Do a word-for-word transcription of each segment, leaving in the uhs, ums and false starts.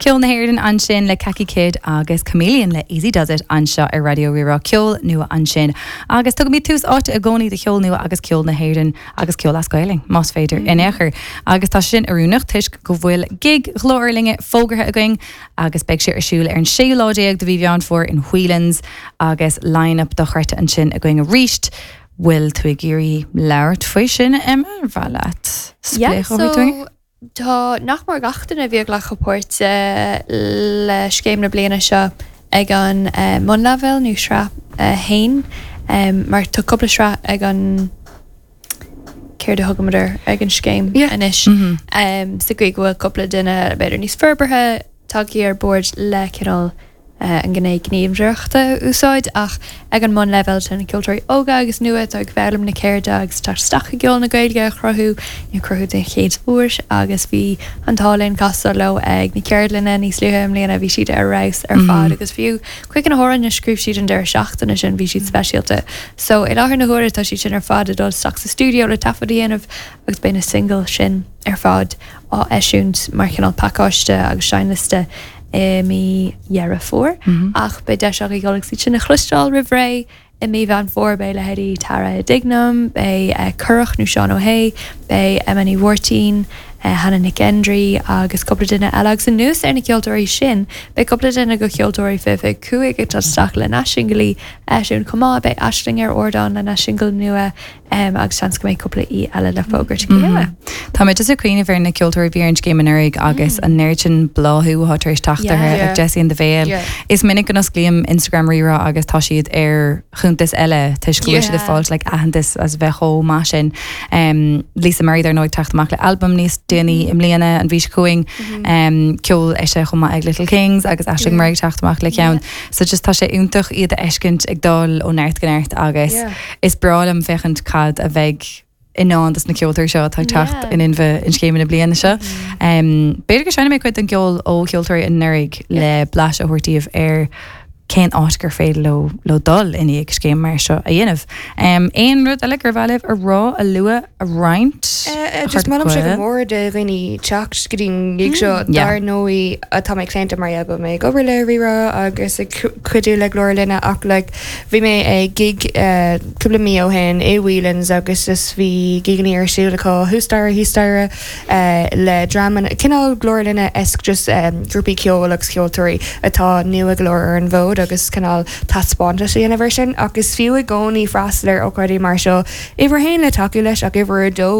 Ceol na hÉireann ansin le Kaki Kid agus Chameleon le Easy Does It anseo ar Raidió Rí-Rá ceol nua ansin. Agus tugaimid tús áite i gcónaí do cheol nua agus ceol na hÉireann agus ceol as Gaeilge más féidir in aon chor. Agus tá sin oiriúnach toisc go bhfuil gig Ghlór Linne fógartha againn agus beidh sé ar siúl ar an séú lá déag de mhí Mheán Fómhair in Whelan's agus line-up dochreidte ansin againn arís. Bhfuil tú ag iarraidh labhairt faoi sin Emma bha leat Yeah, so tá nach mór gach duine a bhí ag glacadh páirt le scéim na bliana seo ag an uh, mbunleibhéal nó sraith uh, haon um, mar tá cúpla sraith ag an céard a thugamar ag an scéim Yeah. anois Mm -hmm. um, sa gcaoi go bhfuil cúpla duine b'fhéidir níos forbartha tagtha ar bord le cineál uh, an gné gníomhaireachta a úsáid ach ag an mbunleibhéal tá na ceoltóirí óga agus nua atá ag foghlaim na ceirde agus tá isteach i gceol na Gaeilge a chruthú nó cruthú den chéad uair agus bhí an t-ádh linn casadh leo ag na ceardlanna níos luaithe i mbliana bhí siad ar fheabhas ar fad agus fiú chuig na hamhráin a scríobh siad an deireadh seachtaine sin bhí siad speisialta. So i láthair na huaire tá siad sin ar fad ag dul isteach sa studio le taifead a dhéanamh agus beidh na single sin ar fad á eisiúint mar chineál pacáiste agus seinnliosta i mí Dheireadh Fómhair Mm -hmm. ach beidh deis agaibh dul agus iad sin a chloisteáil roimh ré i mí Mheán Fómhair beidh leithéidí Tara Dignam, beidh uh, Curach nó Seán Ó hÉ, beidh Emma Ní Mháirtín, uh, Hannah Nic Gendry agus cúpla duine eile agus anuas ar na ceoltóirí sin, beidh cúpla duine de cheoltóirí fiche cúig ag isteach lena singilí eisiún comá beidh Aisling ar ardán lena single nua um, agus seans go mbeidh cúpla í eile le fógairt go luath. Tá mé just ag cuimhneamh ar na ceoltóirí bhí ar an scéim anuraidh agus an oiread sin bláthú atá tar éis teacht Yeah. orthu, Yeah. like Jessie and the Veil. Yeah. Is minic go n-osclaím Instagram Rí-Rá agus tá siad ar chuntas eile toisc go bhfuil siad ag Yeah. fáilt like aitheantas as bheith chomh maith sin. Um, Lisa Murray dar ndóigh teacht amach le album níos déanaí i mbliana an mhí seo chugainn um, ceol eise chomh maith ag Little Kings agus Aisling Yeah. Murray teacht amach le ceann. So just tá sé iontach iad a fheiscint ag dul ó neart go neart agus Yeah. is breá liom féachaint cad a bheidh i ndán dos na ceoltóirí seo atá ag teacht Yeah. in inmhe an scéim na bliana seo. Um, B'fhéidir go seinnfidh mé cuid den gceol ó cheoltóirí anuraidh le blaiseadh a thabhairt daoibh ar cén áit gur féidir leo leo dul i ndiaidh scéim mar seo a dhéanamh. Um, aon rud eile gur mhaith libh a rá a lua a roinnt? Uh, just molaim sé go mór do dhaoine teacht go dtí an gig seo Yeah. dar ndóigh atá mé claonta mar go mé ag obair le Rí-Rá agus ag cu- cuidiú le Glór Linne ach like, bhí mé ag gig uh, cúpla mí ó shin i Whelan's agus just bhí giganna ar siúl acu thuasstaighre thíos uh, le dreamanna cineál Glór Linne esque just um, grúpaí ceoil agus ceoltóirí atá nua go leor ar an bhfód agus cineál taispeántas a dhéanamh sin agus fiú i gcónaí freastal ar ócáidí mar seo uimhir a haon le tacú leis ach uimhir a dó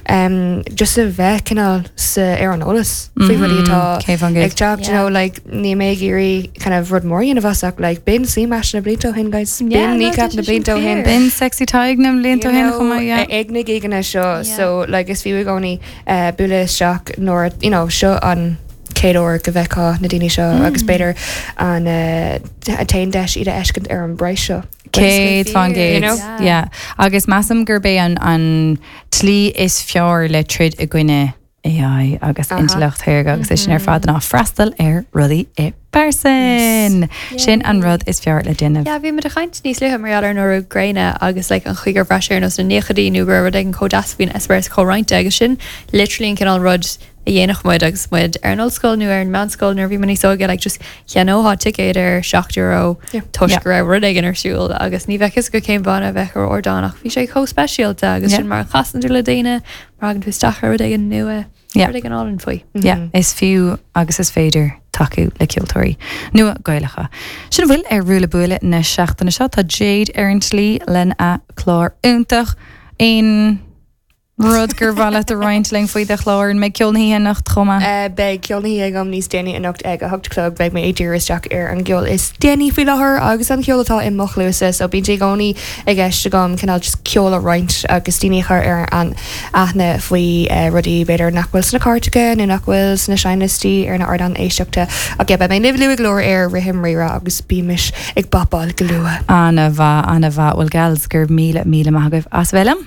um, just a bheith cineál sa ar an eolas faoi rudaí atá Cé fan ag teacht you Yeah. know, like ní mé ag iarraidh kind of rud mór dhéanamh as ach like b'in C-Mash na blianta ó shin guys Yeah, b'in no, Kneecap tá na sé sin blianta ó shin fíor. B'in Sexy Tadhg na blianta ó shin chomh maith, yeah. ag na giganna seo Yeah. so like is fiú i gcónaí uh, bualadh isteach nuair you know seo an chéad uair go bhfeicfeá na daoine seo agus b'fhéidir an uh, t-aon deis iad a fheiscint ar an bpraghas seo. Céad faoin You gcéad. know? Yeah. Agus measaim gurb é an an tslí is fearr le troid i gcoinne AI agus Aha. intleacht shaorga agus é sin ar fad ná freastal ar rudaí i bpearsan. Sin an rud is fearr le déanamh. Yeah, bhí muid ag caint níos luaithe mar ar nó gréine agus like, an chaoi gur bhreis ar nós na nóchaidí nó gur rud ag an chomh faoin eispéireas comhroinnte agus sin literally an cineál rud a dhéanadh muid agus muid ar an ollscoil nó ar an meánscoil nuair bhí níos óige like, just cheannófá ticéad ar seacht euro Yeah. toisc Yeah. go raibh rud éigin ar siúl agus ní bheadh fhios go cén banna a bheadh ar ardán ach bhí sé chomh speisialta agus Yeah. sin mar a chasann tú le daoine mar tagann tú isteach ar rud éigin nua Yeah. rud éigin álainn faoi. Yeah, is fiú agus is féidir tacú le ceoltóirí nua Gaelacha. Sin bhfuil ar Ruaille Buaille na seachtaine seo tá Jade ar an tslí lena clár iontach aon rud gur mhaith leat a roinnt linn faoi do chlár an mbeidh ceol na hoíche anocht chomh maith. Uh, beidh ceol na hoíche agam níos déanaí anocht ag a hocht a chlog beidh mé ag díriú isteach ar an gceol is déanaí faoi láthair agus an ceol atá i mo chluasa so bíonn sé i gcónaí i gceist agam cineál just ceol a roinnt agus daoine a chur ar an aithne faoi uh, rudaí b'fhéidir nach bhfuil sna cairteacha nó nach bhfuil sna seinnliostaí ar na hardáin éisteachta ach yeah, beidh mé libh luath go leor ar Rithim Rí-Rá agus bímis ag bapáil go luath. An-mhaith an-mhaith bhfuil gals gur míle míle maith agaibh as bheith liom.